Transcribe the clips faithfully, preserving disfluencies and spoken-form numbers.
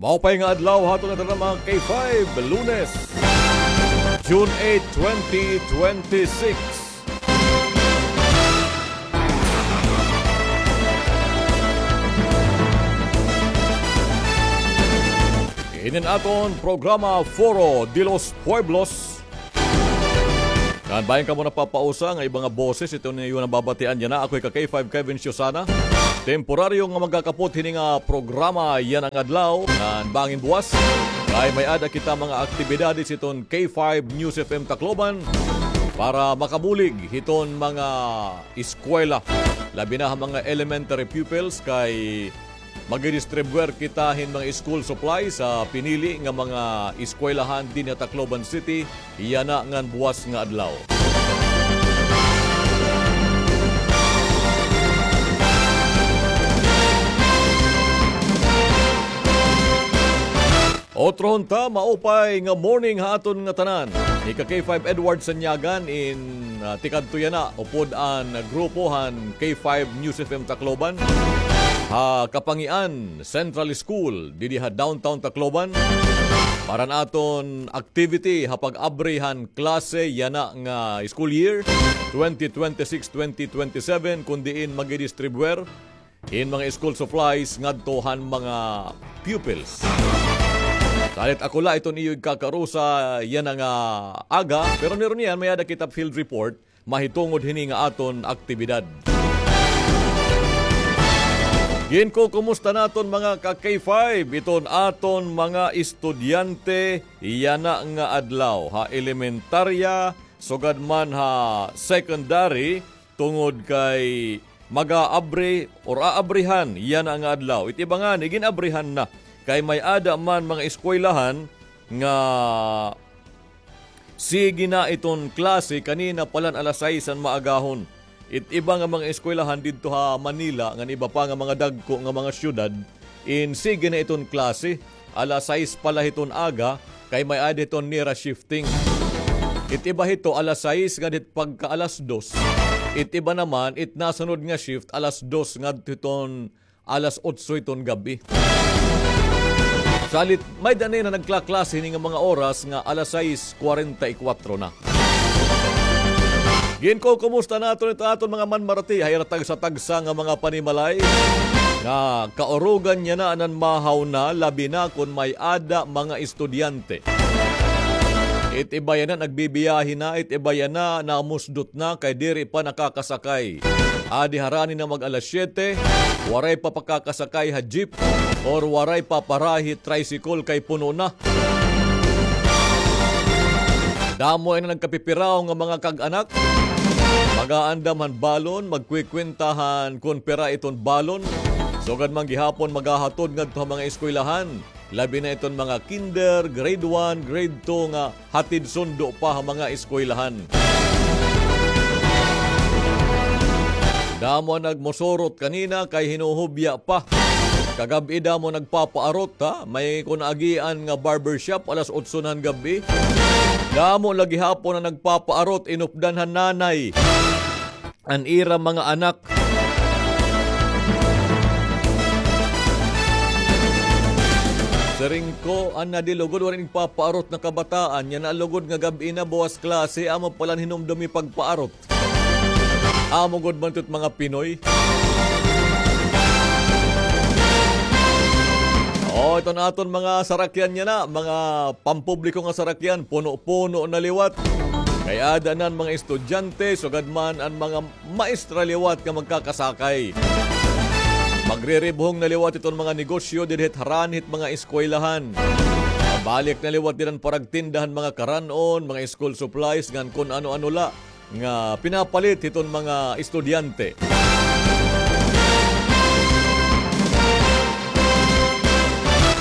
Maupay nga adlaw ha aton nga tanan, mga K five, Lunes, June eight, twenty twenty-six. Ini an aton programa, Foro de los Pueblos. Ngan bangin kamo napapausa nga iba nga boses iton iyo nababatian yana, ako hi ka K five Kevin Siusana. Temporaryo nga magkakapot hini nga programa yana nga adlaw, ngan bangin buwas kay may-ada kita mga aktibidades hiton K five News F M Tacloban para makabulig hiton mga eskwela, labi na ha mga elementary pupils, kay magdidistribuyar kita hin mga school supplies ha pinili nga mga eskwelahan dinhi ha Tacloban City, yana ngan buwas nga adlaw. Otrohon ta, maupay nga morning ha aton nga tanan. Hi ka K five Edward Sanyagan in, ah, tikadto yana, upod an grupo han K five News F M Tacloban ha Kapangian Central School, didi ha Downtown Tacloban. Para han aton activity ha pag-abri han klase yana nga school year twenty twenty-six twenty twenty-seven, kun diin magdidistribuyar hin mga school supplies ngadto han mga pupils. Salit ako la iton iyo igkakarusa yana nga aga, pero niruniyan may-ada kita field report mahitungod hini nga aton aktibidad. Ginkukumusta naton, mga ka K five, iton aton mga estudyante yana nga adlaw ha elementarya, sugad man ha secondary, tungod kay mag-aabri or aabrihan yana nga adlaw. It iba ngani gin-abrihan na kay may-ada man mga eskwelahan nga sige na iton klase kanina pa la han alas sais han maagahon. It iba nga mga eskwelahan didto ha Manila ngan iba pa nga mga dagko nga mga syudad, in sige na iton klase alas sais pa la hiton aga, kay may-ada hiton nira shifting. It iba hito alas sais ngadto hit pagka alas dos. It iba naman, it nasunod nga shift, alas dos ngadto hiton alas otso hiton gab-i. Salit, may-ada na nagklaklase hini nga mga oras nga alas sais kwarenta y kwatro na. Ginkukumusta naton it aton mga manmarati ha ira tagsa-tagsa nga mga panimalay nga kaurugan yana ngan mahaw na, labi na kon may-ada mga estudyante. It iba yana nagbibiyahe na, it iba yana namusdot na kay diri pa nakakasakay. Adi harani na mag-alas siyete, waray pa pakakasakay ha jeep or waray pa parahi tricycle kay puno na. Damo ini nagkapipiraw nga mga kag-anak. Mag-aandam han balon, magkwikwenta han kon pira iton balon. Sugad man gihapon maghahatod ngadto ha mga eskwelahan. Labi na iton mga kinder, grade one, grade two nga hatid sundo pa ha mga eskwelahan. Damo an nagmusurot kanina kay hinuhubya pa. Kagab-i damo nagpapaarot, ha? May kon agian nga barbershop alas otso na han gab-i. Damo la gihapon an nagpapaarot, inupdan han nanay an ira mga anak. Siring ko, an nadilugod, waray nagpapaarot nga kabataan, yana lugod nga gab-i na, buwas klase, amo pa la an hinumdumi pagpaarot. Amo gud man ito it mga Pinoy. O, iton aton mga sarakyan yana, mga pampubliko nga sarakyan, puno-puno na liwat. Kay aada na an mga estudyante, sugad man an mga maestra liwat nga magkakasakay. Magriribhong na liwat iton mga negosyo didi hit harani hit mga eskwelahan. Mabalik na liwat dida an paragtinda han mga karan-on, mga school supplies, ngan kon ano-ano la nga pinapalit hiton mga estudyante.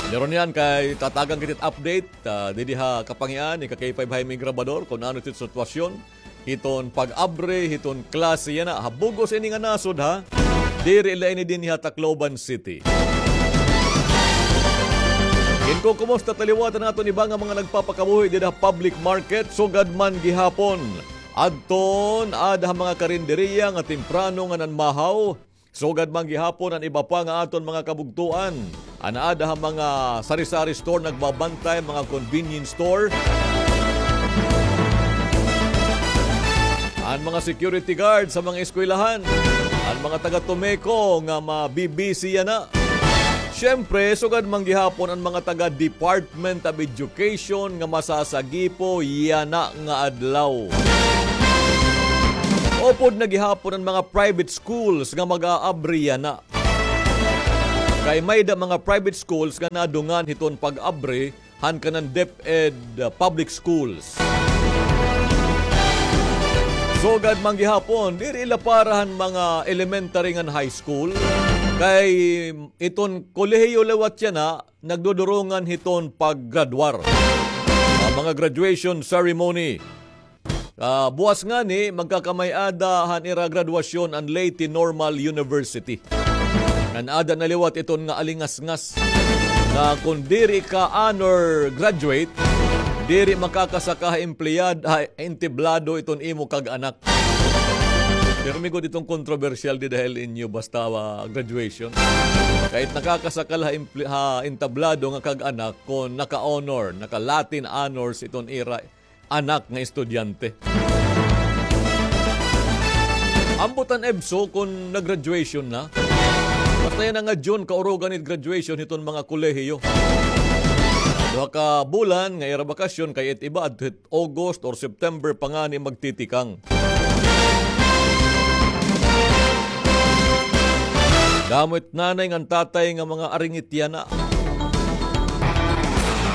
Pero niyan kay tatagan kita it update, ah, didi ha Kapangian, ika K five Jaime Grabador, kon ano it sitwasyon hiton pag-abri hiton klase yana ha bug-os ini nga nasod, ha. Diri la ini dinhi ha Tacloban City. Ginkukumusta ta liwat an aton iba nga mga nagpapakabuhi dida ha public market, sugad man gihapon. Adton aada ha mga karinderiya nga temprano nga nanmahaw, Sugad man gihapon an iba pa nga aton mga kabugtoan, an aada ha mga sari-sari store nagbabantay, mga convenience store, an mga security guard sa mga eskwelahan, an mga taga Tomeco nga mabibisi yana. Siyempre, sugad man gihapon an mga taga Department of Education nga masasagipo yana nga adlaw. Upod na gihapon an mga private schools nga mag-aabri yana. Kay may-ada mga private schools nga nadungan hiton pag-abri han kanan DepEd, uh, public schools. Sugad man gihapon, diri la para han mga elementary ngan high school. Kay iton kolehiyo liwat yana, nagdudurungan hiton paggraduar. Ah, mga graduation ceremony. Ah, buwas ngani, magkakamay-ada han ira graduasyon an Leyte Normal University. Ngan aada na liwat iton nga alingasngas nga kon diri ka honor graduate, diri makakasaka ha empleyad, ha entablado iton imo kag-anak. Pirmi gud iton kontrobersyal dida ha L N U basta, ah, graduation. Kay it nakakasaka la ha emple-, ha entablado nga kag-anak kon naka-honor, naka-Latin honors iton ira anak nga estudyante. Ambot an EBSU kon nag-graduation na. Basta yana nga June, kaurugan it graduation hiton mga kolehiyo. Duha ka bulan nga ira bakasyon kay it iba adto hit August or September pa ngani magtitikang. Damo it nanay ngan tatay nga mga aringit yana.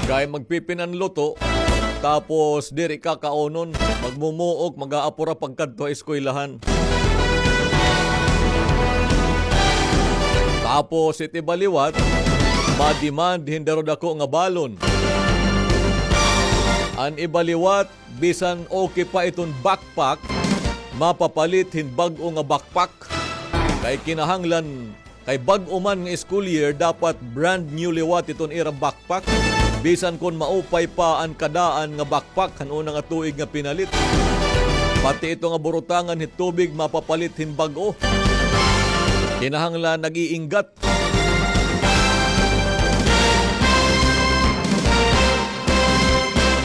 Kay magpipinanluto, tapos diri kakaunon, magmumuok, mag-aapura pagkadto ha eskwelahan. Tapos it iba liwat, ma-demand hin daro dako nga balon. An iba liwat, bisan okay pa iton backpack, mapapalit hin bag-o nga backpack. Kay kinahanglan, kay bag-o man nga school year, dapat brand new liwat iton ira backpack. Bisan kon maupay pa an kadaan nga backpack han una nga tuig nga pinalit. Pati ito nga burutangan hit tubig, mapapalit hin bag-o. Kinahanglan nag-iinggat.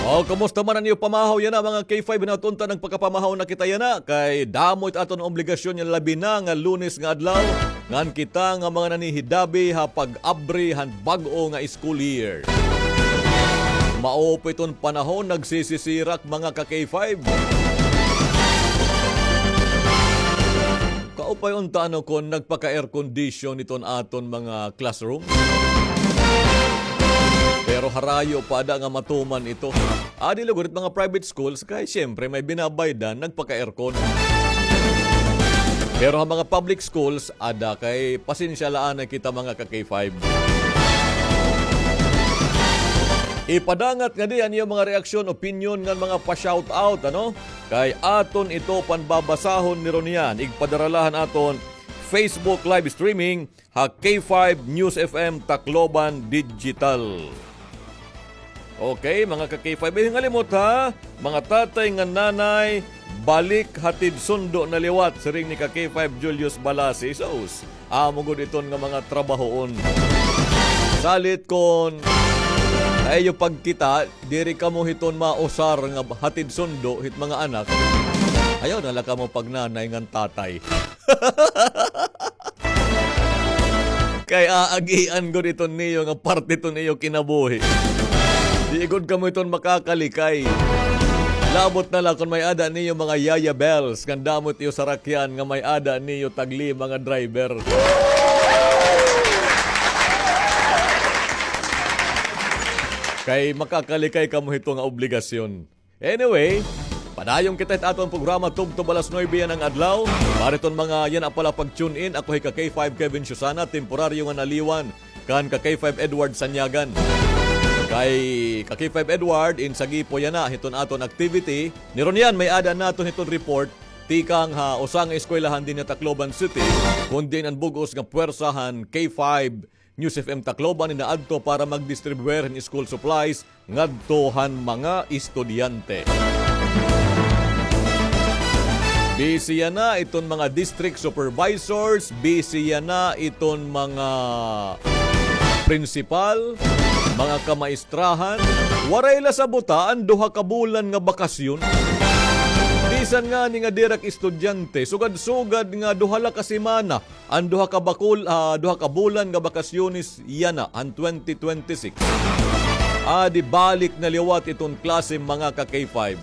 O, kumusta man an iyo pamahaw yana, mga K five, hinaut unta nagpakapamahaw na kita yana, kay damo it aton obligasyon yana, labi na nga Lunes nga adlaw, ngan kita nga mga nanhihidabi ha pag-abri han bag-o nga school year. Maupay iton panahon, nagsisisirak, mga ka-K five. Kaupay unta ano kon nagpaka-air condition iton aton mga classroom. Pero harayo pa ada nga matuman ito. Adi lugod it mga private schools kay siyempre may binabaydan, nagpaka-aircon. Pero ha mga public schools, ada kay pasensya la anay kita mga ka-K five. Ipadangat ngadi an iyo mga reaksyon, opinyon ngan mga pa-shoutout, ano? Kay aton ito panbabasahon ni Ronian. Igpadara la han aton Facebook live streaming ha K five News F M Tacloban Digital. Okay, mga ka-K five, eh, ngalimot ha, mga tatay ngan nanay, balik hatid sundo na liwat, siring ni ka-K five Julius Balasi. Sus, amo gud iton nga mga trabahoon. Salit kon ha iyo pagkita, diri kamo hiton mausar nga hatid sundo hit mga anak. Ayaw na la kamo pagnanay ngan tatay. Kay aagian gud iton niyo nga parte iton iyo kinabuhi. Di gud kamo iton makakalikay. Labot na la kon may-ada niyo mga Yaya Bells, ngan damo it iyo sarakyan nga may-ada niyo tag-lima nga driver. Kay makakalikay kamo hito nga obligasyon. Anyway, padayon kita hit aton programa tubtob alas nuebe yana nga adlaw. Para hiton mga yana pa la pag-tune in, ako hi ka-K five Kevin Susana, temporaryo nga naliwan kan ka-K five Edward Sanyagan. Kay ka-K five Edward, in sagipo yana hiton aton activity. Ni Ronian, may-ada naton hiton report tikang ha usa nga eskwelahan dinhi ha Tacloban City, kon diin an bug-os nga puwersa han K five News F M Tacloban inaadto para mag-distribuer hin school supplies ngadto han mga estudyante. Busy yana iton mga district supervisors, busy yana iton mga prinsipal, mga kamaistrahan. Waray la sabuta an duha ka bulan nga bakasyon. Bisan ngani nga diri ak estudyante, sugad-sugad nga duha la ka semana an duha ka bakul-, ah, duha ka bulan nga bakasyones yana han twenty twenty-six. Adi balik na liwat iton klase, mga ka K five.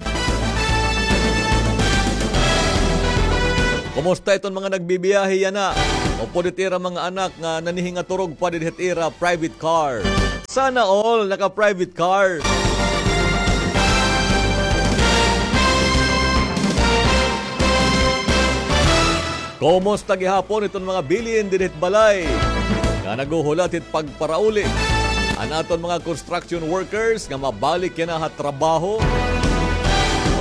Kumusta iton mga nagbibiyahe yana? Upod it ira mga anak nga nanihingaturog pa didi hit ira private car. Sana all naka-private car. Kumusta gihapon iton mga bilin didi hit balay nga naghuhulat hit pagparauli? An aton mga construction workers nga mabalik yana ha trabaho?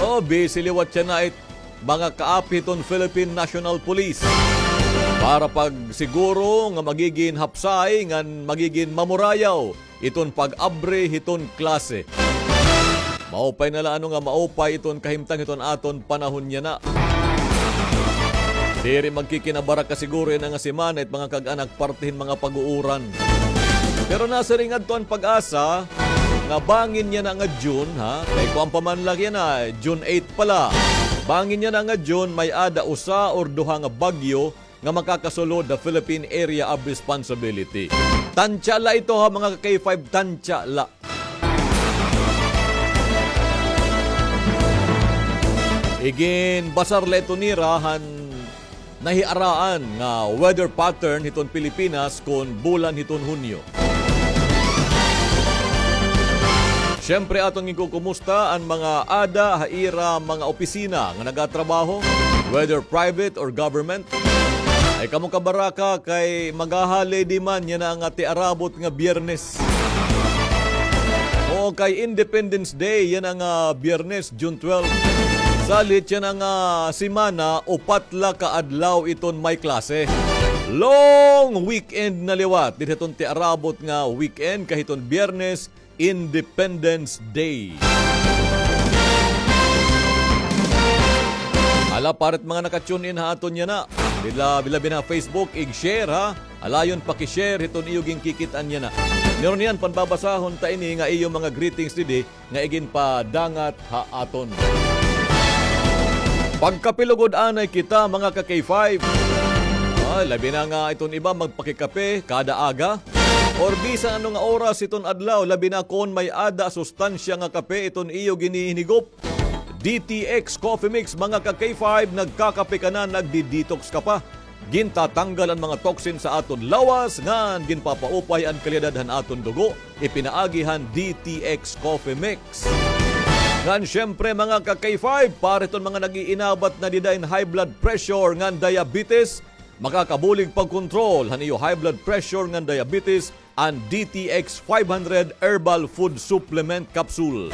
O, busy liwat yana it mga kaapi hiton Philippine National Police para pagsiguro nga magigin hapsay ngan magigin mamurayaw iton pag-abri hiton klase. Maupay na la ano nga maupay iton kahimtang hiton aton panahon yana. Diri magkikinabaraka siguro yana nga semana it mga kag-anak parte hin mga pag-uuran. Pero nasiring ngadto an PAGASA nga bangin yana nga June, ha? Kay kuan pa man la yana, June eight pa la. Bangin yana nga June, may-ada usa or duha nga bagyo nga makakasulod ha Philippine Area of Responsibility. Tansya la ito, ha, mga ka K five, tansya la. Iginbasar la ito nira han nahiaraan nga weather pattern hiton Pilipinas kon bulan hiton Hunyo. Siyempre, aton ginkukumusta an mga ada ha ira mga opisina nga nagatrabaho, whether private or government. Ay kamo kabaraka kay maghaholiday man yana nga tiarabot nga Biyernes. Oo, kay Independence Day yana nga Biyernes, June twelve. Salit yana nga semana, upat la ka adlaw iton may klase. Long weekend na liwat didi hiton tiarabot nga weekend, kay hiton Biyernes, Independence Day. Hala, para it mga naka-tune in ha aton yana, bila, bila bin ha Facebook, ig-share, ha. Alayon paki-share hiton iyo ginkikit-an yana. Meron niyan, panbabasahon ta ini nga iyo mga greetings didi nga iginpadangat ha aton. Pagkape lugod anay kita, mga ka K five. Ay, labi na nga iton iba magpakikape kada aga or bisan ano nga oras iton adlaw, labi na kon may-ada sustansya nga kape iton iyo ginihinigop. D T X Coffee Mix, mga ka K five, nagkakape ka na, nagdi-detox ka pa. Gintatanggal an mga toxin sa aton lawas, ngan ginpapaupay an kalidad han aton dugo. Ipinaagi han D T X Coffee Mix. Ngan siyempre, mga ka K five, para hiton mga nag-iinabat na dida hin high blood pressure ngan diabetes, makakabulig pagkontrol han iyo high blood pressure ngan diabetes an D T X five hundred Herbal Food Supplement Capsule.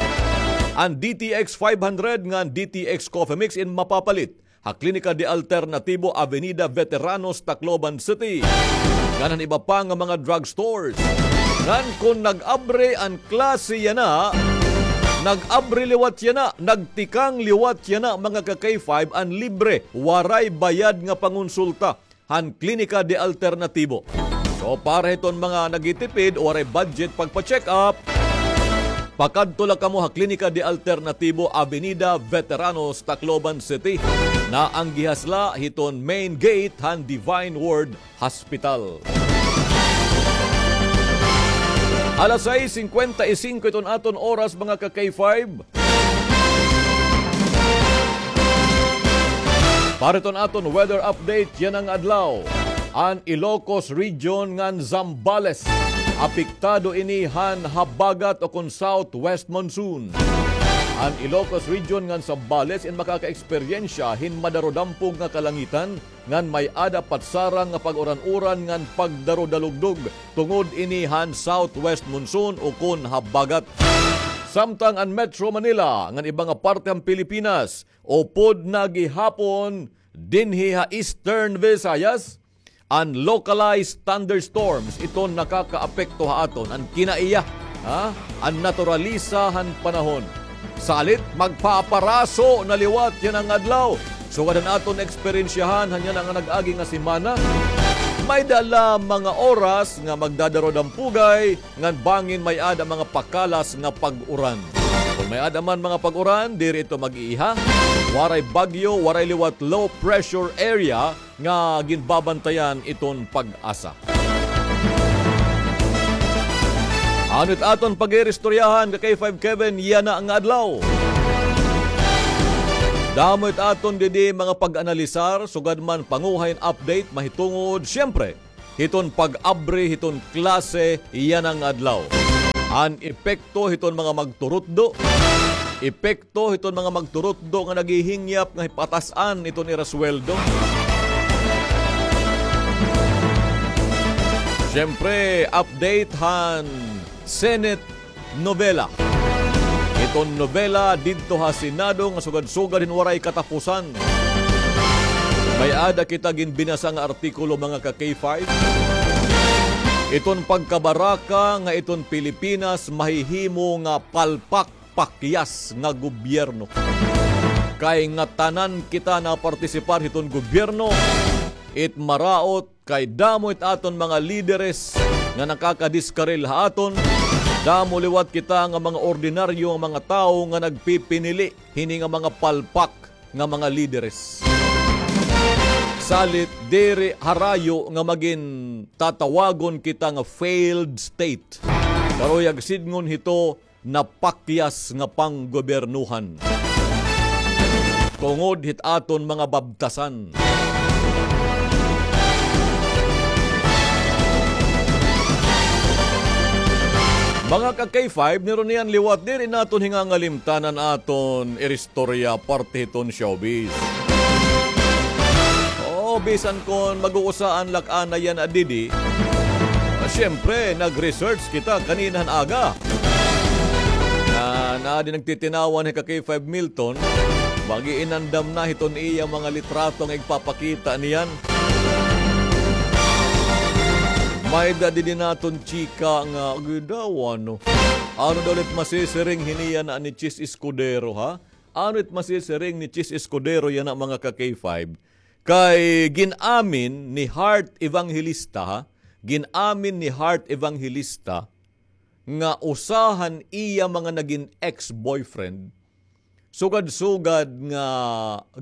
An D T X five hundred ngan D T X Coffee Mix in mapapalit ha Klinika de Alternatibo, Avenida Veteranos, Tacloban City, ngan han iba pa nga mga drugstores. Ngan kon nag-abri an klase yana, nag-abri liwat yana, nagtikang liwat yana, mga ka K five, an libre, waray bayad nga pangonsulta han Klinika de Alternatibo. So, para hiton mga nagtitipid o waray budget pagpa-check up, pakadto la kamo ha Klinika de Alternatibo, Avenida Veteranos, Tacloban City. Naanggihas la hiton main gate han Divine Word Hospital. Alas sais singkwenta y singko iton aton oras, mga ka K five. Para iton aton weather update yana nga adlaw, an Ilocos Region ngan Zambales, apektado ini han habagat o kon southwest monsoon. An Ilocos Region ngan Zambales in makaka-eksperyensya hin madarodampog nga kalangitan ngan may-ada patsarang nga pag-uran-uran ngan pagdarudalugdog tungod ini han southwest monsoon o kon habagat. Samtang an Metro Manila ngan iba nga parte han Pilipinas, upod na gihapon dinhi ha Eastern Visayas, an localized thunderstorms iton nakakaapekto ha aton. An kinaiya, ha? An naturalisa han panahon. Salit, magpaparaso na liwat yana nga adlaw. Sugad han aton eksperyensyahan han yana nga nag-agi nga semana, may-ada la mga oras nga magdadaro-dampugay, ngan bangin may-ada mga pakalas nga pag-uran. Kon may-ada man mga pag-uran, diri ito mag-iiha. Waray bagyo, waray liwat low pressure area nga ginbabantayan iton PAGASA. Ano it aton pag-iristoryahan ka K five Kevin yana nga adlaw? Damo it aton didi mga pag-analisar, sugad man panguha hin update mahitungod, siyempre, hiton pag-abri hiton klase yana nga adlaw. An epekto hiton mga magturutdo, epekto hiton mga magturutdo nga naghihingyap nga hipatas-an iton ira sweldo. Siyempre, update han Senate novela. Iton novela didto ha Senado nga sugad-sugad hin waray katapusan. May-ada kita ginbinasa nga artikulo, mga ka K five. Iton pagkabaraka nga iton Pilipinas mahihimo nga palpak pakyas nga gobyerno. Kay ngatanan kita napartisipar hiton gobyerno, it maraot kay damo it aton mga lideres nga nakakadiskaril ha aton, damo liwat kita nga mga ordinaryo nga mga tawo nga nagpipinili hini nga mga palpak nga mga lideres. Salit diri harayo nga magin tatawagon kita nga failed state. Karuyag sidngon hito, napakyas nga panggobyernohan. Tungod hit aton mga babtasan. Mga ka K five, nirunian liwat, diri naton hingangalimtan an aton iristorya parte hiton showbiz. Oo, bisan kon mag-uusaan la ak ana yana didi, ah, siyempre, nag-research kita kanina han aga. Na, na di nagtitinawan hi ka K five Milton, mag-iinandam na hiton iya mga litrato nga igpapakita niyan. May-ada didi naton chika nga, agi daw, ano? Ano daw ulit masisiring hini yana ni Chis Escudero, ha? Ano it masisiring ni Chis Escudero yana, mga ka K five? Kay gin-amin ni Heart Evangelista, ha? Gin-amin ni Heart Evangelista nga usa han iya mga nagin ex-boyfriend, sugad-sugad nga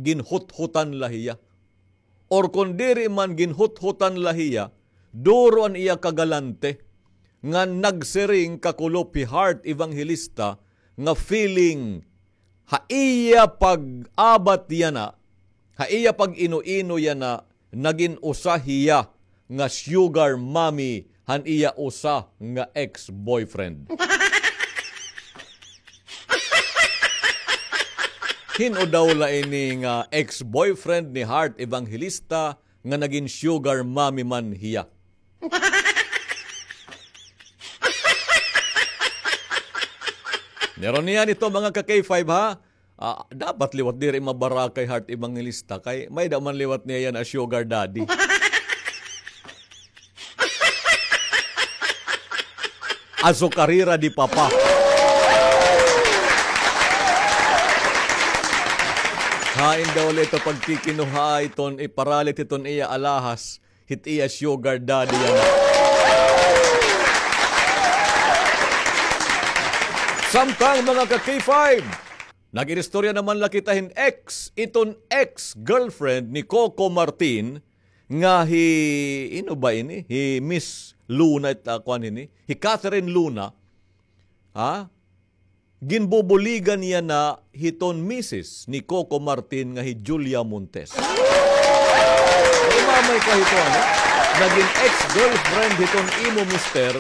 ginhuthutan la hiya. Or kon diri man ginhuthutan la hiya, duro an iya kagalante nga nagsiring kakulop hi Heart Evangelista nga feeling ha iya pag-abat yana, ha iya pag-ino-ino yana, nagin usa hiya nga sugar mommy han iya usa nga ex-boyfriend. Hin-o daw la ini nga ex-boyfriend ni Heart Evangelista nga nagin sugar mommy man hiya? Nirunian ito, mga ka K five, ha? Ah, dapat liwat diri mabaraka hi Heart Evangelista kay may-ada man liwat niya yana sugar daddy. Azucarera de papa. Hain daw la ito pagkikinuha iton iparalit iton iya alahas. Hit iya sugar daddy yana. Samtang, mga ka K five, nag-iristorya naman la kita hin ex, iton ex-girlfriend ni Coco Martin nga hi, hin-o ba ini? Hi Miss Luna, it, ah, kuan ini. Hi Catherine Luna. Ha? Ginbubuligan yana hiton misis ni Coco Martin nga hi Julia Montes. Ay, mamay ka hito, ano? Nagin ex-girlfriend hiton imo mister,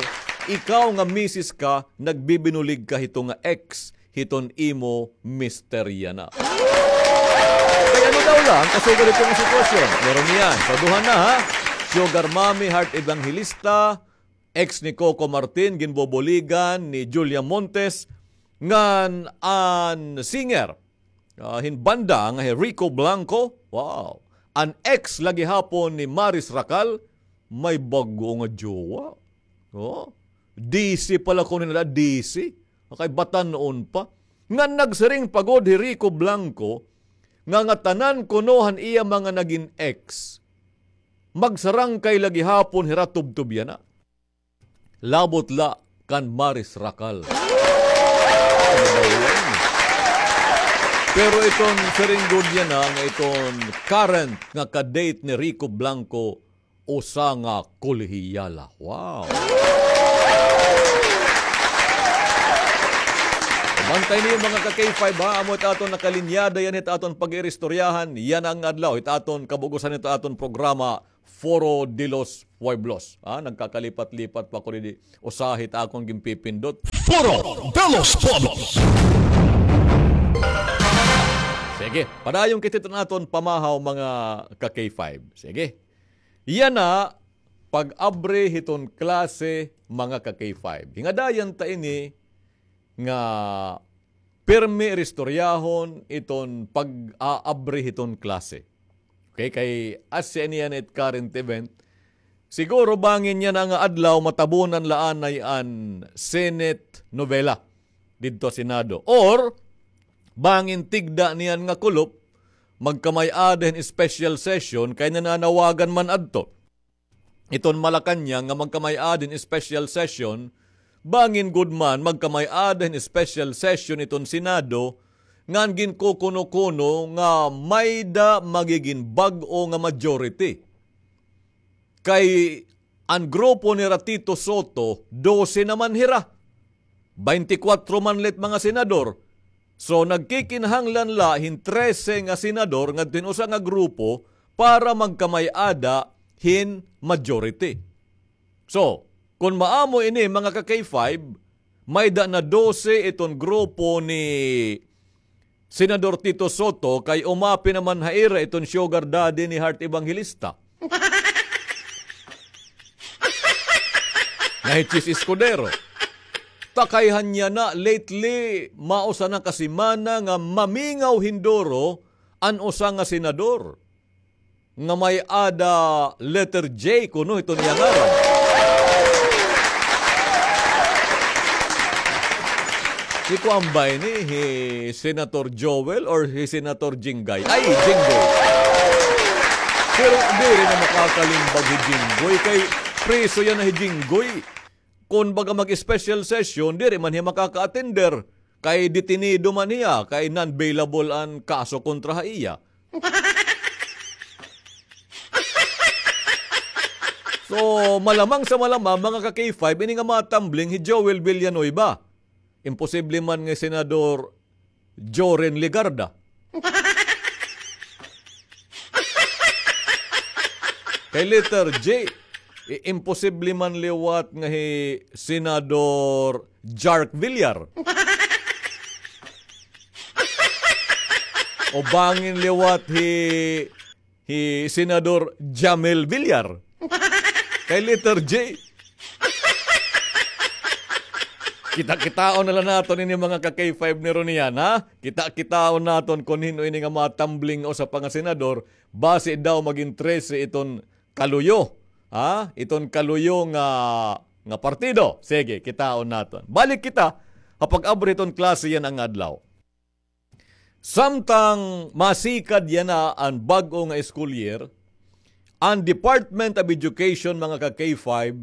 ikaw nga misis ka, nagbibinulig ka hito nga ex hiton imo mister yana. Kay ano daw la an kasugad hito nga sitwasyon? Meron niyan. So, duha na, ha? Sugar Mommy, Heart Evangelista, ex ni Coco Martin, ginbubuligan ni Julia Montes, ngan an singer, ah, hin banda nga hi Rico Blanco, wow. An ex la gihapon ni Maris Racal, may bag-o nga jowa. Oh, D C pala kuno nila, D C. Kay batan-on pa. Ngan nagsiring pa gud hi Rico Blanco, nga ngatanan kuno han iya mga nagin ex, magsarangkay la gihapon hira tubtob yana. Labot la kan Maris Racal. Pero iton siring gud yana nga iton current nga ka-date ni Rico Blanco, usa nga kolehiyala. Wow! Bantay niyo, mga ka-K five, ha? Amo it aton nakalinyada yana it aton pag-iristoryahan yana nga adlaw. It aton kabug-osan hito aton programa, Foro de los Pueblos. Ha? Nagkakalipat-lipat pa ako didi. Usa hit akon ginpipindot. Foro de los Pueblos. Sige, padayon kita hiton aton pamahaw, mga ka-K five. Sige. Yana, pag-abri hiton klase, mga ka-K five. Hingadayan ta ini nga pirmi iristoryahon iton pag-aabri hiton klase. Okay, kay asya ini yana it current event. Siguro bangin yana nga adlaw matabunan la anay an Senate novela didto ha Senado. Or, bangin tigda niyan nga kulop, magkamay-ada hin special session kay nananawagan man adto iton Malacañang nga magkamay-ada hin special session, bangin gud man magkamay-ada hin special session iton Senado, ngan ginkukuno-kuno nga may-da magigin bag-o nga majority. Kay an grupo nira Tito Sotto, dose naman hira. Baynte kwatro man la it mga senador. So, nagkikinahanglan la hin trese nga senador ngadto hin usa nga grupo para magkamay-ada hin majority. So, kon maamo ini, mga ka-K five, may-da na dose iton grupo ni Senador Tito Sotto, kay umapi naman ha ira iton sugar daddy ni Heart Evangelista. Nga hi Chiz Escudero. Ta kay han yana lately, mausa na ka semana nga mamingaw hin duro an usa nga senador nga may-ada letter J kuno hiton iya ngaran. Hi kuan ba ini, hi Senator Joel or hi Senator Jingay? Ay, Jinggoy. Pero diri na makakalimbag hi Jinggoy kay preso yana hi Jinggoy. Kon baga mag-special session, diri man hiya makaka-attender kay detenido man hiya, kay non-bailable an kaso kontra ha iya. So, malamang sa malamang, mga ka-K five, ini nga matumbling hi Joel Villanueva. Imposible man nga Senador Joren Legarda. Kay letter J, i-, imposible man liwat nga hi Senador Jark Villar. O bangin liwat hi, hi Senador Jamel Villar. Kay letter J. Kita-kitaon na la naton ini, mga ka-K five, ni Ronian, ha? Kita-kitaon naton kon hin-o ini nga matumbling usa pa nga senador, basi daw magin trese iton kaluyo, ha? Iton kaluyo nga, nga partido. Sige, kitaon naton. Balik kita ha pag-abri hiton klase yana nga adlaw. Samtang masikad yana an bag-o nga school year, an Department of Education, mga ka-K five,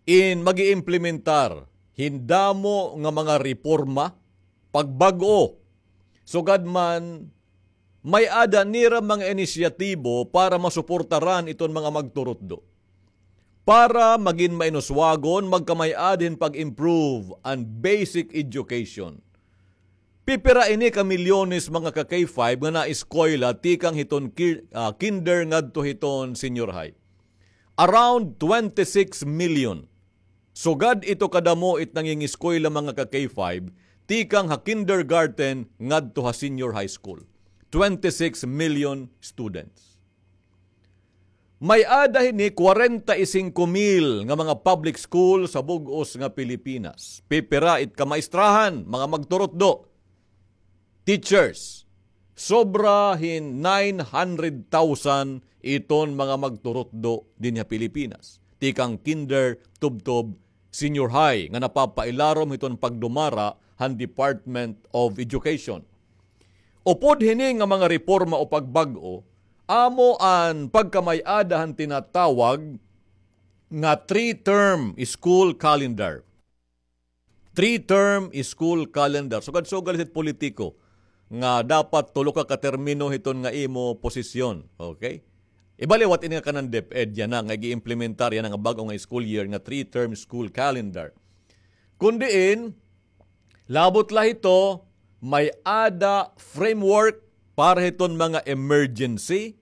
in mag-iimplementar hin damo nga mga reporma, pagbag-o, sugad man may-ada nira mga inisyatibo para masuportaran iton mga magturutdo. Para magin mainuswagon, magkamay-ada hin pag-improve an basic education. Pipira ini ka milyones, mga ka-K five, nga naeskwela tikang hiton ki-, ah, kinder ngadto hiton senior high? Around twenty-six million. Sugad ito kadamo it nangingeskwela, mga ka-K five, tikang ha kindergarten ngadto ha senior high school. Twenty-six million students. May-ada hini kwarenta y singko mil nga mga public school sa bug-os nga Pilipinas. Pipira it ka maestrahan, mga magturutdo, teachers. Sobra hin nine hundred thousand iton mga magturutdo dinhi ha Pilipinas. Tikang kinder, tubtob, senior high nga napapailarom hiton pagdumara han Department of Education. Upod hini nga mga reporma o pagbag-o, amo an pagkamay-ada han tinatawag nga three-term school calendar. Three-term school calendar. Sugad-sugad hit politiko nga dapat tulo ka katermino hiton nga imo posisyon. Okay? Iba liwat ini nga kanan DepEd yana nga ig-implementar yana nga bag-o nga school year nga three-term school calendar. Kun diin, labot la hito, may-ada framework para hiton mga emergency,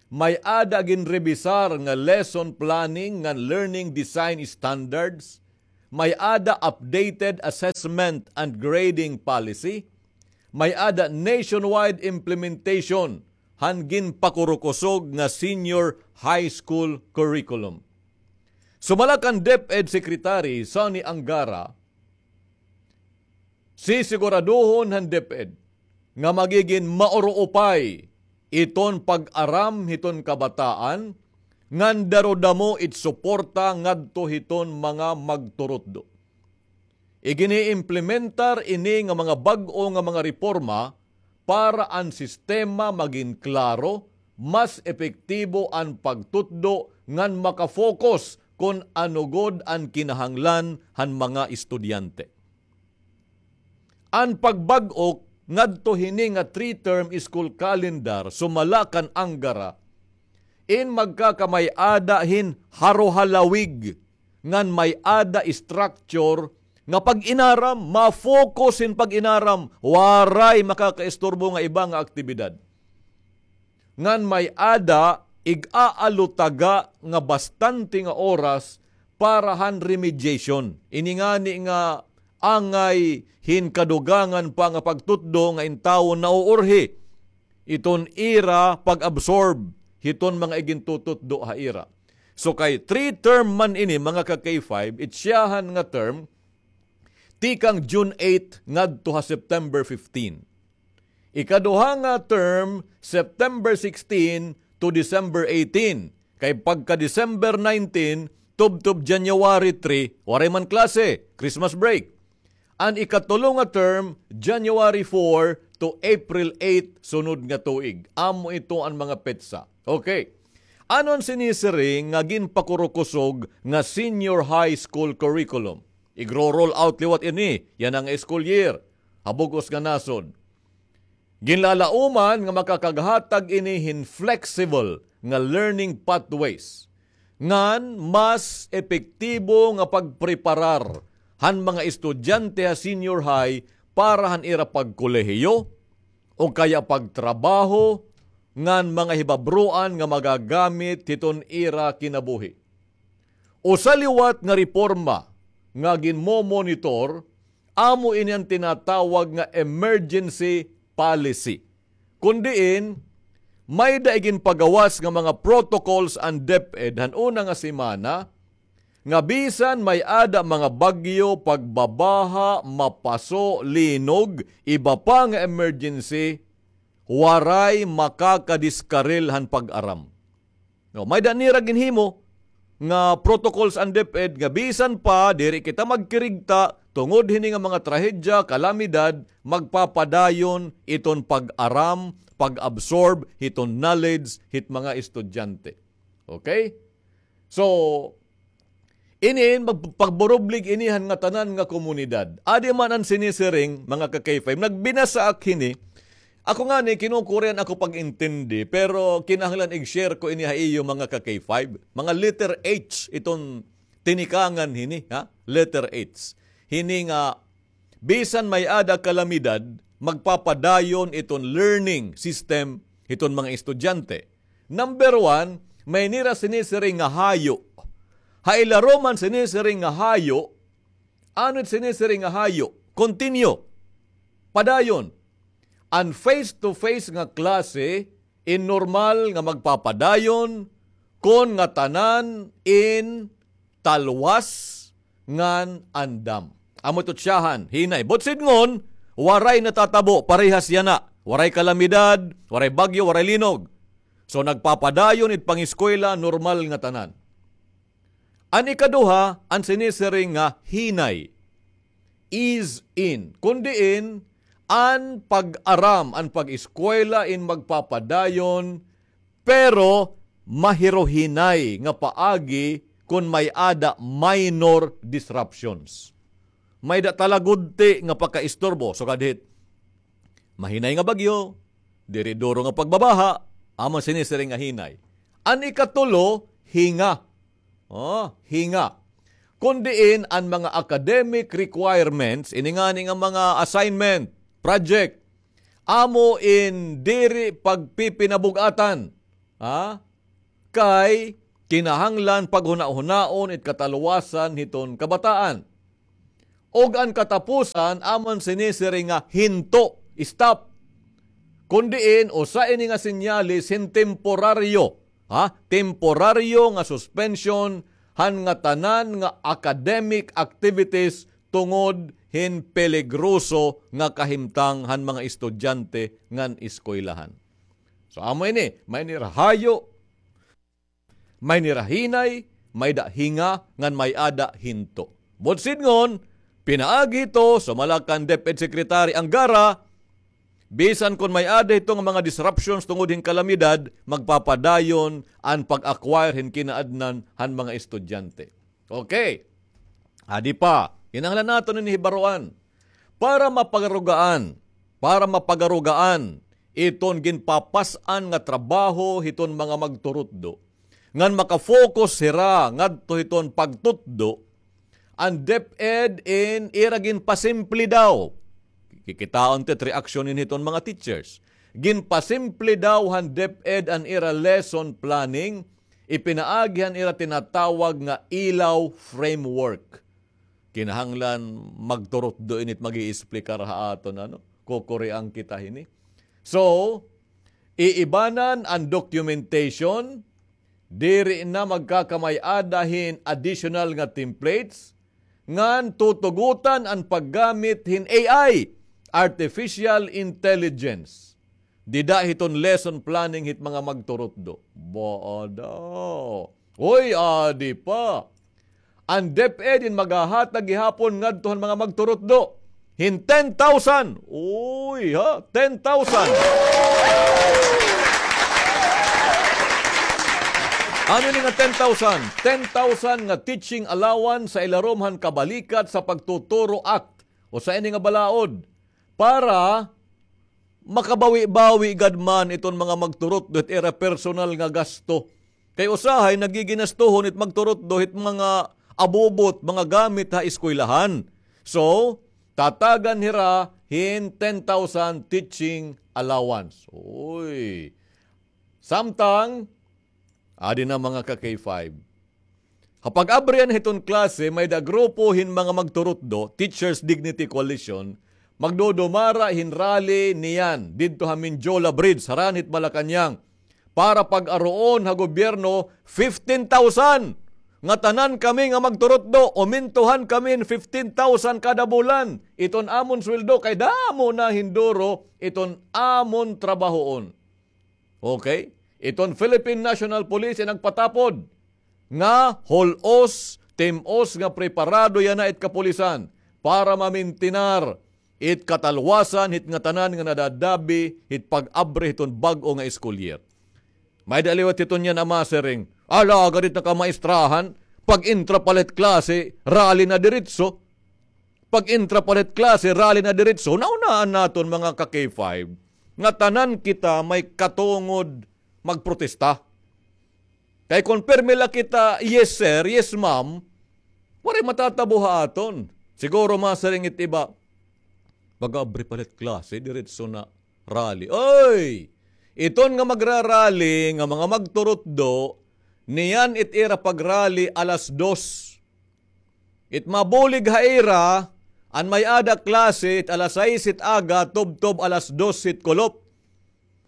may-ada ginrebisar nga lesson planning ngan learning design standards, may-ada updated assessment and grading policy, may-ada nationwide implementation han ginpakurukusog nga senior high school curriculum. Sumala kan DepEd Secretary Sonny Angara, sisiguraduhon han DepEd nga magigin mauruupay iton pag-aram hiton kabataan ngan darudamo it suporta ngadto hiton mga magturutdo. Igini-implementar ini nga mga bag-o nga mga reporma para an sistema magin klaro, mas epektibo an pagtutdo ngan maka-focus kon ano gud an kinahanglan han mga estudyante. An pagbag-o ngadto hini nga three-term school calendar sumala kan Angara, in magkakamay-ada hin harohalawig ngan may-ada structure nga pag-inaram, ma-focus hin pag-inaram, waray makakaisturbo nga iba nga aktibidad. Ngan may-ada ig-aalutaga nga bastante nga oras para han remediation. Ini ngani nga angay hin kadugangan pa nga pagtutdo nga in tawo nauurhi iton ira pag-absorb hiton mga igintututdo ha ira. So kay three term man ini, mga ka-K five, it siyahan nga term tikang June eight ngadto ha September fifteen. Ikaduha nga term, September sixteen to December eighteen. Kay pagka December nineteen, tubtob January three, waray man klase, Christmas break. An ikatulo nga term, January four to April eight, sunod nga tuig. Amo ito an mga petsa. Okay. Ano an sinisiring nga ginpakurukusog nga senior high school curriculum? Igro-roll out liwat ini yana nga school year ha bug-os nga nasod. Ginlalauman nga makakaghatag ini hin flexible nga learning pathways ngan mas epektibo nga pagpreparar han mga estudyante ha senior high para han ira pagkolehiyo o kaya pagtrabaho ngan mga hibabroan nga magagamit hiton ira kinabuhi. Usa liwat nga reporma nga ginmomonitor, amo ini an tinatawag nga emergency policy. Kun diin, may-da iginpagawas nga mga protocols an DepEd han una nga semana, nga bisan may-ada mga bagyo, pagbabaha, mapaso, linog, iba pa nga emergency, waray makakadiskaril han pag-aram. No, may-da nira ginhimo nga protocols an DepEd nga bisan pa diri kita magkirigta tungod hini nga mga trahedya, kalamidad, magpapadayon iton pag-aram, pag-absorb hiton knowledge hit mga estudyante. Okay? So, inin, mag-, pagburublig ini han ngatanan nga komunidad. Adi man an sinisiring, mga ka-K five. Nagbinasa ak hini. Ako ngani, kinukurian ako pag-intindi, pero kinahanglan ig-share ko ini ha iyo, mga ka-K five. Mga letter H iton tinikangan hini, ha? Letter H. Hini nga bisan may-ada kalamidad, magpapadayon iton learning system hiton mga estudyante. Number one, may nira sinisiring nga hayo. Ha ilarom han sinisiring nga hayo, ano it sinisiring nga hayo? Continue. Padayon. An face-to-face nga klase in normal nga magpapadayon kon ngatanan in talwas ngan andam. Amo ito siyahan, hinay. But sidngon, waray natatabo, parehas yana. Waray kalamidad, waray bagyo, waray linog. So, nagpapadayon it pangiskwela, normal nga tanan. An ikaduha, an sinisiring nga hinay. Ease in. Kun diin, an pag-aram, an pag-eskwela in magpapadayon, pero mahiruhinay nga paagi kon may-ada minor disruptions. May-ada talagudti nga pakaisturbo, sugad hit mahinay nga bagyo, diri duro nga pagbabaha, amo sinisiring nga hinay. An ikatulo, hinga. Oh, hinga. Kon diin an mga academic requirements, ini ngani nga mga assignment, project, amo in diri pagpipinabug-atan, ha? Kay kinahanglan paghunahunaon it katalwasan hiton kabataan. Ug an katapusan, amo an sinisiring nga hinto, stop. Kon diin, usa ini nga senyales hin temporaryo, ha? Temporaryo nga suspension han ngatanan nga academic activities tungod hin peligroso nga kahimtang han mga estudyante ngan eskwelahan. So, amo ini, may nira hayo, may nira hinay, may-ada hinga, ngan may-ada hinto. Buot sidngon, pinaagi hito, sumala kan DepEd Secretary Angara, bisan kon may-ada hito nga mga disruptions tungod hin kalamidad, magpapadayon an pag-acquire hin kinaadnan han mga estudyante. Okay. Adi pa, kinahanglan naton ini hibaroan. Para mapagarugaan, para mapagarugaan iton ginpapas-an nga trabaho hiton mga magturutdo, ngan maka-focus hira ngadto hiton pagtutdo, an DepEd in ira ginpasimple daw. Kikitaon ta it reaksyon hin hiton mga teachers. Ginpasimple daw han DepEd an ira lesson planning, ipinaagi han ira tinatawag nga ilaw framework. Kinahanglan magturutdo ini it mag-iisplikar ha aton, ano? Kukurian kita hini. So, iibanan an documentation, diri na magkakamay-ada hin additional nga templates, ngan tutugotan an paggamit hin A I, artificial intelligence. Dida hiton lesson planning hit mga magturutdo. Baa daw. Hoy, adi pa. An DepEd in maghahatag gihapon ngadto han mga magturutdo hin ten thousand. Uy, ha? Ten thousand. Ano ini nga ten thousand? Ten thousand nga teaching allowance sa ilarom han Kabalikat sa Pagtuturo Act. Usa ini nga balaod para makabawi-bawi gad man iton mga magturutdo hit ira personal nga gasto. Kay usahay nagiginastuhon it magturutdo hit mga abubot, mga gamit ha eskwelahan. So, tatagan hira hin ten thousand teaching allowance. Uy. Samtang, adi na mga ka-K five. Ha pag-abri yana hiton klase, may-ada grupo hin mga magturutdo, Teachers Dignity Coalition, magdudumara hin rally niyan didto ha Mendiola Bridge, harani hit Malacañang, para pag-aruon ha gobyerno fifteen thousand. Ngatanan kami nga magturutdo, umintuhan kami hin fifteen thousand kada bulan. Iton amon sweldo kay damo na hin duro iton amon trabahoon. Okay? Iton Philippine National Police in nagpatapod nga hul-os, tim-os nga preparado yana it kapulisan para mamintinar it katalwasan hit ngatanan nga nadadabi hit pag-abri hiton bag-o nga school year. May-ada liwat hiton yana masiring, alagad it nakamaistrahan, pag-intra pa la hit klase, rally na diretso. Pag-intra pa la hit klase, rally na diretso, naunaan naton mga ka-K five, ngatanan kita may katungod magprotesta. Kay kon pirme la kita, "Yes, sir. Yes, ma'am," waray matatabo ha aton. Siguro masiring it iba, pag-abri pa la hit klase, diretso na rally. Oy! Iton nga magrarally nga mga magturutdo, niyan it ira pagrally alas dos. It mabulig ha ira, an may-ada klase it alas sais it aga, tubtob alas dos it kulop.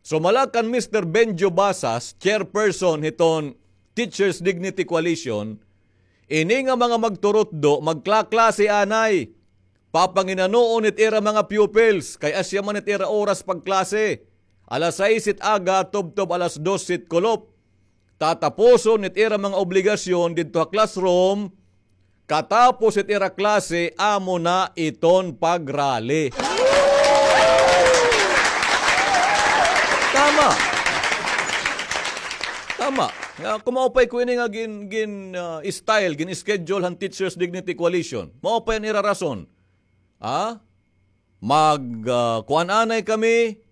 Sumala kan Mister Benjo Basas, chairperson hiton Teachers Dignity Coalition, ini nga mga magturutdo magklaklase anay. Papanginanoon it ira mga pupils, kay asya man it ira oras pagklase. Alas sais it aga, tubtob alas dos it kulop. Tatapuson it ira mga obligasyon didto ha classroom, katapos it ira klase, amo na iton pagrally. Tama. Tama. Nga, kung maupay ko ini nga gin, gin, ah, style, gin-schedule han Teachers Dignity Coalition. Maupay an ira rason. Ha? Mag, ah, kuan anay kami,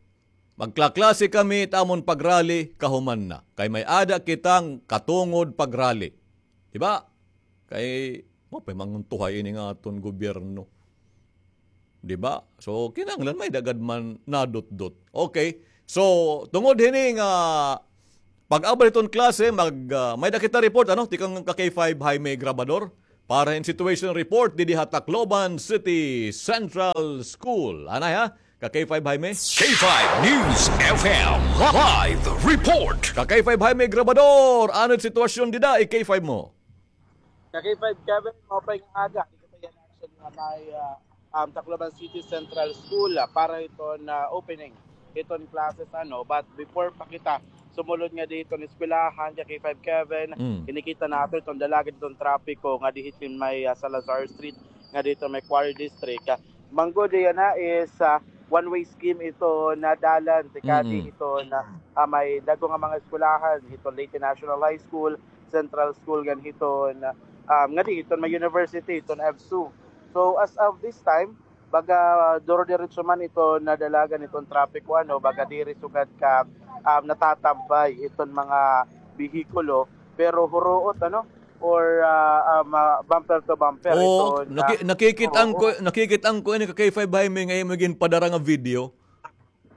magklaklase kami, it amon pagrally, kahuman na. Kay may-ada kitang katungod pagrally. Di ba? Kay, maupay manguntuhay ini nga aton gobyerno. Di ba? So, kinahanglan may-ada gad man nadutdot. Okay. So, tungod hini nga pag-abot hiton klase, mag, ah, may-ada kita report, ano? Tikang ka K five Jaime Grabador. Para hin situation report, didi ha Tacloban City Central School. Anay, ha? Ka K five Jaime? K five News F M live report. Ka K five Jaime Grabador, ano it sitwasyon dida, i K five mo? Ka K five Kevin, maupay nga aga. Dito pa yan actually nga may, ah, um, Tacloban City Central School, ah, para hiton, ah, opening hiton classes, ano. But before pa kita sumulod nga dito nga eskwelahan, ka K five Kevin, Mm. kinikita nato iton dalagan hiton trapiko nga dito may, ah, Salazar Street, nga dito may Quarry District. Ah, manggod yana is, ah, one-way scheme ito na dalan, tikadi Mm-mm. ito na, ah, may dagko nga mga eskwelahan, ito Leyte National High School, Central School, ngan hiton, um, ngadi hiton may university, hiton EVSU. So, as of this time, baga duro-diretso man ito na dalagan iton trapiko, ano, baga diri sugad ka, um, natatambay iton mga behikulo, pero huruot, ano, or, ah, ah, ma-, bumper to bumper Oo, iton, naki-, ah, nakikit-an ko, oo. Nakikit-an ko ini ka K five Jaime nga imo ginpadara nga video.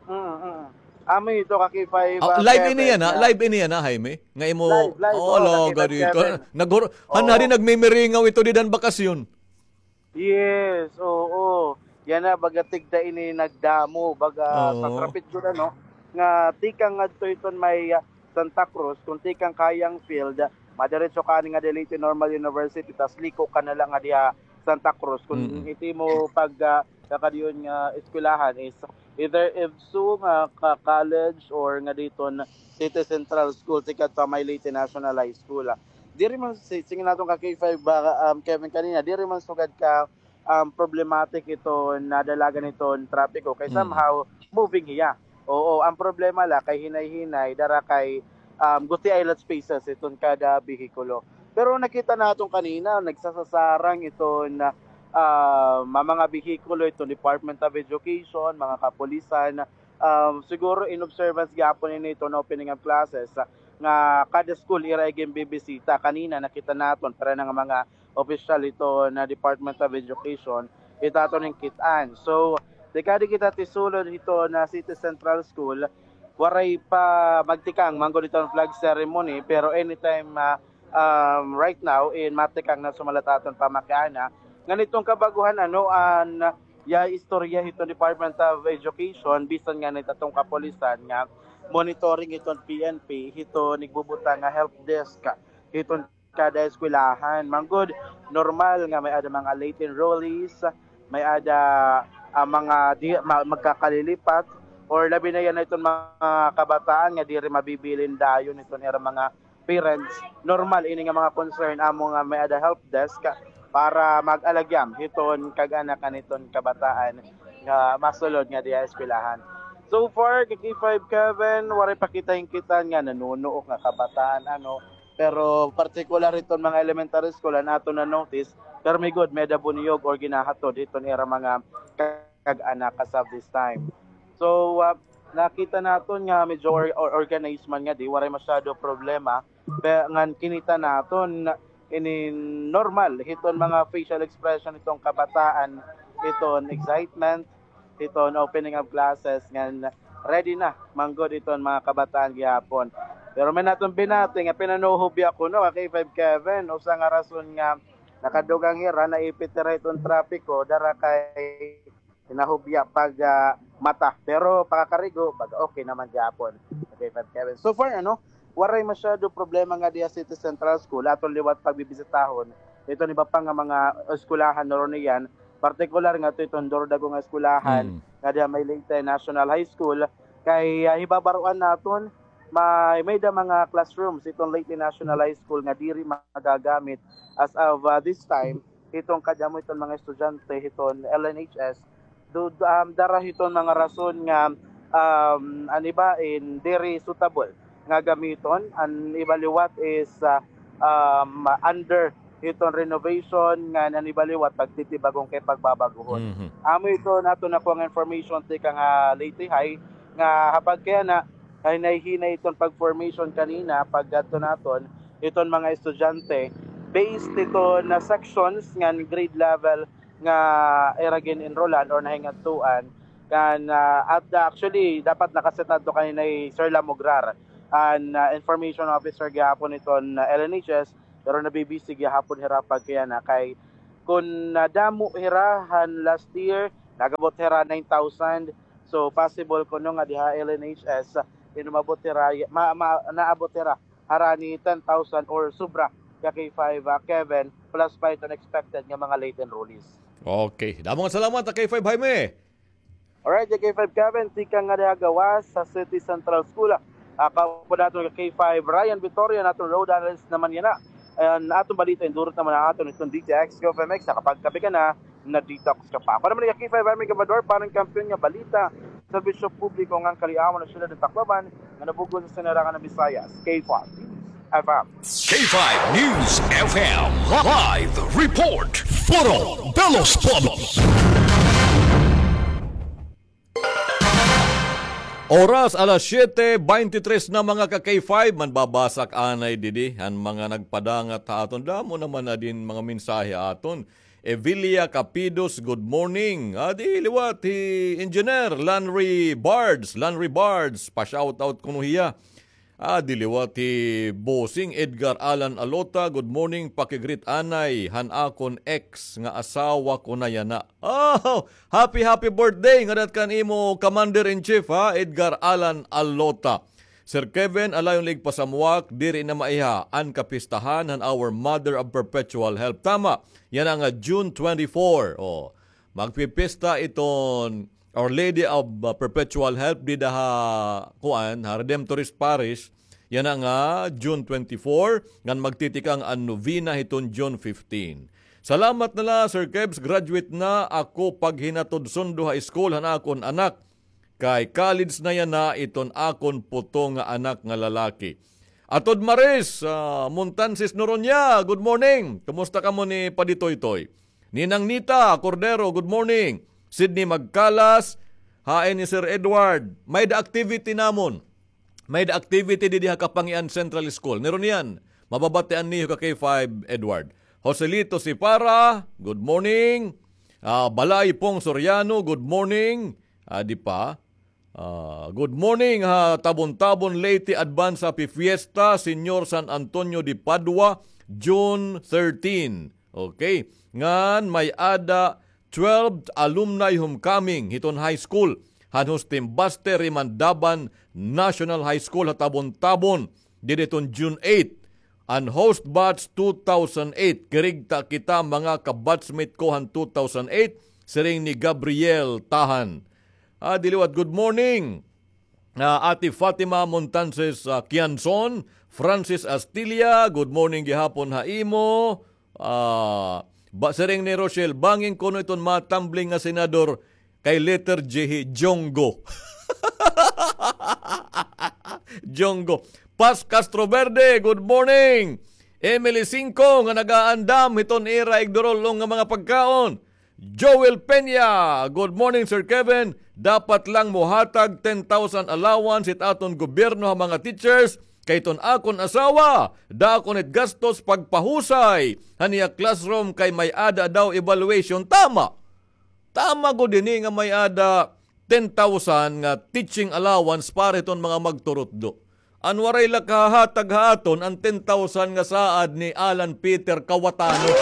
Mm, mm. Amo ito ka K five, Ah, ah, live ini Kevin, yana, ha? Live ini yana, Jaime? Nga imo, Live, live, oo, oo, law, ka K five gadi. Kevin. Nagor-, han-, Oo. Hari nagmimiringaw ito dida han bakasyon. Yes, oo. Yana, baga tigda ini nagdamo, baga sa Oo. trapit gud, ano, nga tikang ngadto iton may, ah, Santa Cruz, kung tikang Kayang Field, madiretso ka ani nga Leyte Normal University, tas liko ka na la nga diha Santa Cruz. Kung Mm. iti mo pag, ah, kakadiyon nga eskwelahan is either EVSU nga ka-, college or nga diton City Central School, tikadto ha may Leyte National High School, ah. Diri man si-, sige naton ka K five ba, um, Kevin kanina, diri man sugad ka, um, problematic iton dalagan hiton trapiko kay Mm. somehow moving hiya. Oo, ang problema la kay hinay-hinay, dara kay, um, gutiay la spaces iton kada behikulo. Pero nakita naton kanina, nagsasasarang iton, ah, ma-, mga behikulo iton Department of Education, mga kapulisan, um, siguro in observance gihapon ini iton opening of classes, ah, nga kada school ira iginbibisita. Kanina nakita naton, pero nga mga opisyal iton Department of Education, ito aton nakit-an. So, tikadi kita tisulod hiton City Central School, waray pa magtikang manggod iton flag ceremony, pero anytime, ah, um, right now, in matikang na sumala it aton pamakiana. Ngan iton kabag-ohan, ano, an, ya istorya hiton Department of Education, bisan ngani it aton kapulisan nga monitoring hiton P N P, hiton igbubutang nga help desk hiton kada eskwelahan. Manggod, normal nga may-ada mga late enrollees, may-ada, ah, mga di, ma-, magkakalilipat, or labi na yana iton mga kabataan nga diri mabibilin dayon iton ira mga parents. Normal ini nga mga concern amo nga may-ada help desk para mag-alagyam hiton kag-anakan hiton kabataan nga masulod nga diha eskwelahan. So far, ka K five Kevin, waray pa kita hingkit-an nga nanunuok nga kabataan, ano, pero partikular hiton mga elementary school, an aton na-notice, pirmi gud may-ada buniyog or ginahatod hiton ira mga kag-anak as of this time. So, ah, nakita naton nga medyo or-, or-, organized man ngadi, waray masyado problema, pe-, ngan kinita naton ini normal hiton mga facial expression hiton kabataan, hiton excitement, hiton opening of classes, ngan ready na manggod iton mga kabataan gihapon. Pero may naton binati nga pinanuhobya kuno, ka K five Kevin, usa nga rason nga nakadugang hira, naipit hira hiton trapiko, dara kay hinahubya pag, ah, mata. Pero pakakarigo, baga okay naman gihapon. Okay, Five Kevin. So far, ano, waray masyado problema nga diha City Central School. Aton liwat pagbibisitahon iton iba pa nga mga eskwelahan, Ronian, partikular nga to iton duro dagko nga eskwelahan Mm. nga diha may Leyte National High School. Kay, ah, hibabaroan naton, may, may-ada mga classrooms iton Leyte National High School nga diri magagamit as of, ah, this time, hiton kadamo hiton mga estudyante hiton L N H S, do, do, um, dara hiton mga rason nga um, an iba in diri suitable nga gamiton, an iba liwat is, ah, um, under hiton renovation, ngan an iba liwat pagtitibag-on kay pagbabaguhon. Mhm. Amo iton aton nakuha nga information tikang ha Leyte High, nga ha pagkayana, hinay-hinay iton pag-formation kanina, pag-adto naton, iton mga estudyante, based iton na sections ngan grade level nga ira gin-enrollan or nahingadtuan. Kan, ah, at, ah, actually, dapat naka-set adto kanina hi Sir Lamugrar, an, ah, information officer gihapon iton, ah, L N H S, pero nabibisi gihapon hira pagkayana kay kun nadamo hira han last year, nag-abot hira nine thousand. So, possible kuno nga diha L N H S, inumabot hira, ma-, ma-, naabot hira harani ten thousand or sobra ka K five, ah, Kevin, plus pa iton expected nga mga late enrollees. Okay. Damo nga salamat, ah, K five Jaime. Alright, K five Kevin, tikang nga diha gawas sa City Central School. Ah, kaupod naton ka K five Ryan Victoria, naton road analyst naman yana. An aton balita, indurot naman an aton iton D T X K F M X, nakapagkape ka na, na-detox ka pa. Ako naman, K five Army Gabador, para han kampiyon nga balita, serbisyo publiko ngan kaliawan han syudad han Tacloban, nga nabugon sa sinarangan han Visayas, K five News F M. K five News F M live report. Foro de los Pueblos. Oras, alas siyete beintitres na, mga ka-K five, manbabasa ak anay didi han mga nagpadangat ha aton. Damo naman na din mga mensahe aton. Evilia Capidos, good morning. Adi liwat hi Engineer Lanry Bards. Lanry Bards, pa-shoutout kuno hiya. Adi liwat hi Bossing Edgar Alan Alota, good morning, paki-greet anay han akon ex nga asawa ko na yana. Oh, happy, happy birthday ngada kan imo Commander-in-Chief, ha, Edgar Alan Alota. Sir Kevin, alayon la igpasamuak, diri na maiha an kapistahan han Our Mother of Perpetual Help. Tama, yana nga June twenty-four. Oh, magpipista iton Our Lady of, uh, Perpetual Help dida ha, kuan, ha Redemptorist Parish. Yana nga June twenty-four, ngan magtitikang an novena hiton June fifteen. Salamat na la, Sir Kevs, graduate na ako paghinatod sundo ha school han akon anak. Kay college na yana iton akon puto nga anak nga lalaki. Atod Maris, ah, Montansis Noronia, good morning. Kumusta kamo ni Padi Toytoy? Ninang Nita Cordero, good morning. Sydney Magkalas, hain ni Sir Edward. May-ada activity namon. May-ada activity didi ha Kapangian Central School. Nirunian, mababatian niyo ka K five Edward. Joselito Sipara, good morning. Ah, Balay Pong Soriano, good morning. Adi pa. Ah, good morning ha Tabon-Tabon, Leyte, advance happy fiesta, Señor San Antonio de Padua, June thirteen. Okay. Ngan may-ada twelfth alumni homecoming hiton high school han Hostimbaste Rimandaban National High School ha Tabon-Tabon didi hiton June eight. An host batch two thousand eight, kirigta kita mga ka-batchmate ko han two thousand eight, siring ni Gabriel Tahan. Ah, diliwat, good morning. Ah, Ate Fatima Montanses, ah, Kianson, Francis Astilla, good morning gihapon ha imo. Ah, ba, siring ni Rochelle, bangin kuno iton matumbling nga senador kay letter J hi Jonggo. Jonggo. Pas Castro Verde, good morning. Emily Cinco nga nag-aandam hiton ira igdurulong nga mga pagkaon. Joel Peña, good morning, Sir Kevin. Dapat lang mohatag ten thousand allowance it aton gobyerno ha mga teachers, kay iton akon asawa, dako na it gastos pagpahusay han iya classroom kay may-ada daw evaluation. Tama. Tama gud ini nga may-ada ten thousand nga teaching allowance para hiton mga magturutdo. An waray la kahahatag ha aton an ten thousand nga saad ni Alan Peter Kawatano.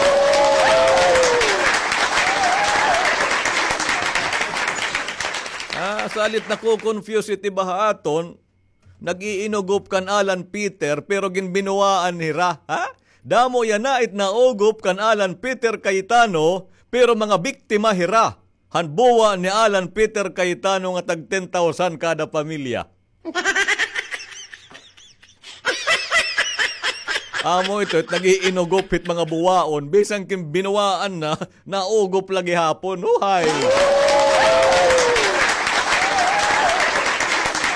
Ah, salit nako-confuse it iba ha aton, nag-iinugop kan Alan Peter pero ginbinuwaan hira, ha? Damo yana it naugop kan Alan Peter Cayetano pero mga biktima hira han buwa ni Alan Peter Cayetano nga tag ten thousand kada pamilya. Amo ito, it nag-iinugop hit mga buwaon, bisan kin binuwaan na, naugop la gihapon. Huhay!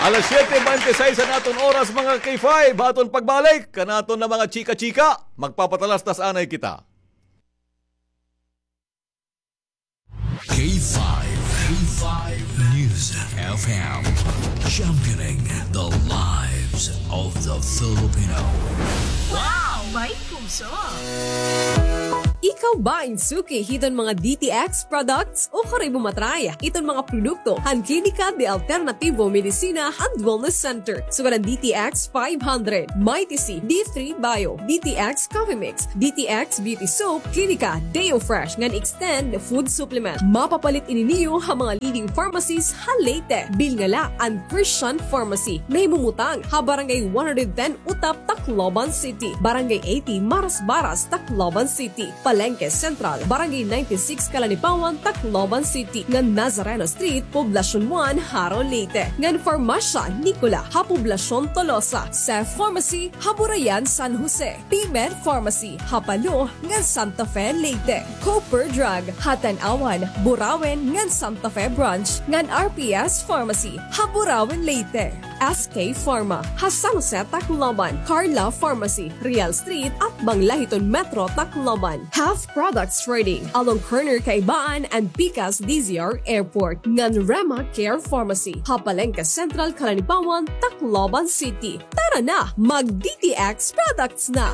Alas siyete bente seis an aton oras, mga K five. Aton pagbalik kan aton nga mga chika-chika. Magpapatalastas anay kita. K five, K five News F M, championing the lives of the Filipino. Wow! May puso! Ikaw ba in suki hiton mga D T X products? Ukari mo matry iton mga produkto han Klinika de Alternativo Medicina and Wellness Center. Sugad an D T X five hundred, Mighty C, D three Bio, D T X Coffee Mix, D T X Beauty Soap, Klinika Deo Fresh ngan Extend Food Supplement. Mapapalit ini niyo ha mga leading pharmacies ha Leyte. Bilnga la an Christian Pharmacy nga himumutang ha Barangay one hundred ten Utap, Tacloban City, Barangay eighty Marasbaras, Tacloban City, Palengke Central, Barangay ninety-six Calanipawan, Tacloban City, ngan Nazareno Street, Poblacion one, Jaro, Leyte, ngan Farmasya Nicola ha Poblacion Tolosa, Seth Pharmacy ha Burayan, San Jose, P-Med Pharmacy ha Palo ngan Santa Fe, Leyte, Cooper Drug ha Tanauan, Burauen ngan Santa Fe Branch, ngan R P S Pharmacy ha Burauen, Leyte, S K Pharma ha San Jose, Tacloban, Carla Pharmacy, Real Street, atbang la hiton Metro Tacloban, Health Products Trading along corner Kaibaan and Pikas D Z R Airport, ngan Rema Care Pharmacy ha Palengke Central, Calanipawan, Tacloban City. Tara na, mag D T X products na!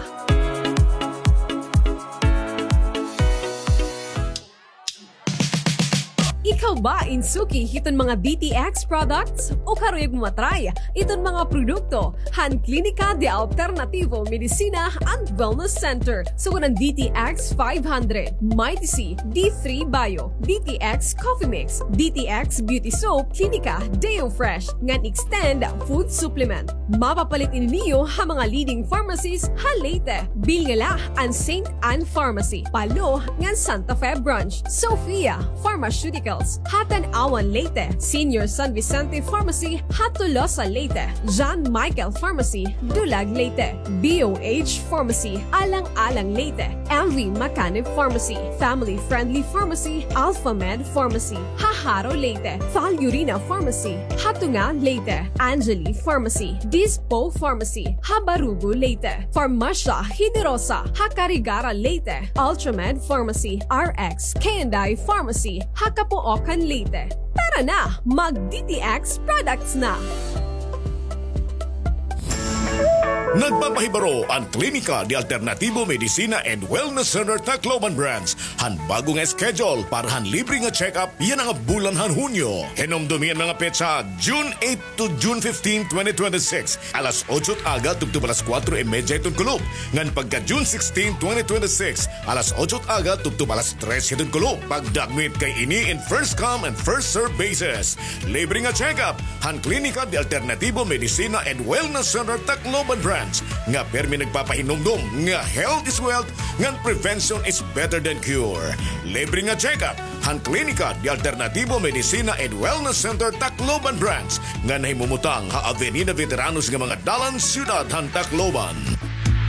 Ikaw ba in suki hiton mga D T X products? Ukari mo matry iton mga produkto han Klinika de Alternativo Medicina and Wellness Center, sugad an D T X five hundred, Mighty C, D three Bio, D T X Coffee Mix, D T X Beauty Soap, Klinika Deo Fresh, ngan Extend Food Supplement. Mapapalit ini niyo ha mga leading pharmacies ha Leyte. Bilnga la an Saint Anne Pharmacy, Palo, ngan Santa Fe Branch, Sophia Pharmaceuticals ha Tanauan, Leyte, Senior San Vicente Pharmacy ha Tolosa, Leyte, John Michael Pharmacy, Dulag, Leyte, B O H Pharmacy, Alang-alang, Leyte, M V Macanib Pharmacy, Family Friendly Pharmacy, Alpha Med Pharmacy ha Jaro, Leyte, Val Urina Pharmacy ha Tunga, Leyte, Angeli Pharmacy, Dispo Pharmacy ha Barugo, Leyte, Farmasya Generosa ha Carigara, Leyte, Ultramed Pharmacy, R X K and I Pharmacy ha Capoocan, Leyte. Tara na, mag D T X products na! Nagpapahibaro an Klinika de Alternativo Medicina and Wellness Center Tacloban Branch han bag-o nga schedule para han libre nga check-up yana nga bulan han Hunyo. Hinumdomi an mga petsa, June eight to June fifteen, twenty twenty-six, alas otso it aga tubtob alas kuwatro y medya hiton kulop, ngan pagka June sixteen, twenty twenty-six, alas otso it aga tubtob alas tres hiton kulop. Pagdagmit kay ini in first come and first serve basis. Libre nga check-up han Klinika de Alternativo Medicina and Wellness Center Tacloban Branch nga pirmi nagpapahinumdom nga health is wealth ngan prevention is better than cure. Libre nga check-up han Klinika de Alternativo Medicina and Wellness Center Tacloban Branch nga nahimumutang ha Avenida Veteranos nga mga dalan, siyudad han Tacloban.